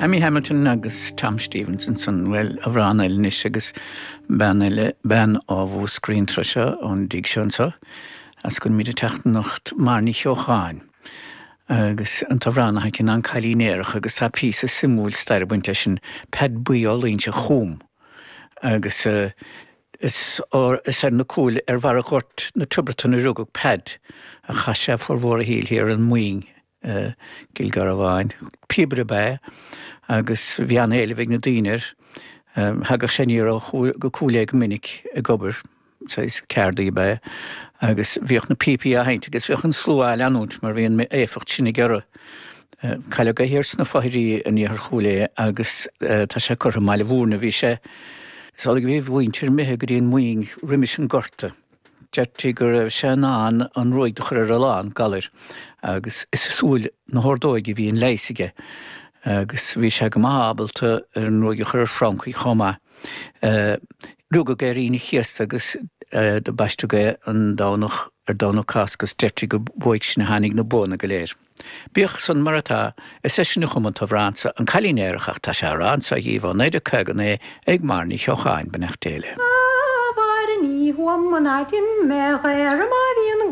Amy Hamilton agus Tom Stevens ansan, bhuel, amhrán eile anois agus bean eile, bean ó Mhúscraí an tráth seo, ón dtigh seo anso, as go bhfuilimid ag teacht anocht, Máire Ní Cheocháin. Agus an t-amhrán atá aici ná An Cailín Aerach agus tá píosa suimiúil staire ag baint leis sin, Peaid Buí Ó Loingsigh a chum agus is ar na cúil ar bharra Ghort na Tiobratan a rugadh Peaid ach chaith sé formhór a shaoil thiar ar an Muing i gCill Garbháin. Píobaire ab ea é agus bhí an-éileamh ag na daoine air. Thagadh sé aniar ó go Cúil Aodha go minic ag obair, saghas ceardaí ab ea é, agus bhíodh na píopaí á sheinnt agus bhíodh an slua á leanúint mar bhí an éifeacht sin aige orthu. Cailleadh é thiar sna Fothairí in iarthar Chúil Aodha agus tá sé curtha i mBaile Mhúirne. Bhí sé, is amhlaidh go bhí a mhuintir imithe go dtí an Mhuing roimis an Gorta. Deirtí go raibh sé in ann an ruaig do chur ar a lán galair agus is i súil na hordóige a bhí an leigheas aige agus bhí sé go maith ábalta ar an ruaig a chur ar francaigh chomh maith. Rugadh é ar Aoine Chéasta agus do baisteadh é an Domhnach ar Domhnach Cásca agus deirtí gur uaidh sin a tháinig na buanna go léir. Bíodh san mar atá, is eisean a chum an t-amhrán seo, An Cailín Aerach ach tá sé á rá anso dhíbh ó 1959 ag Máire Ní Cheocháin, beannacht Dé léi. A Mháire ní thuama ná d'imigh ar.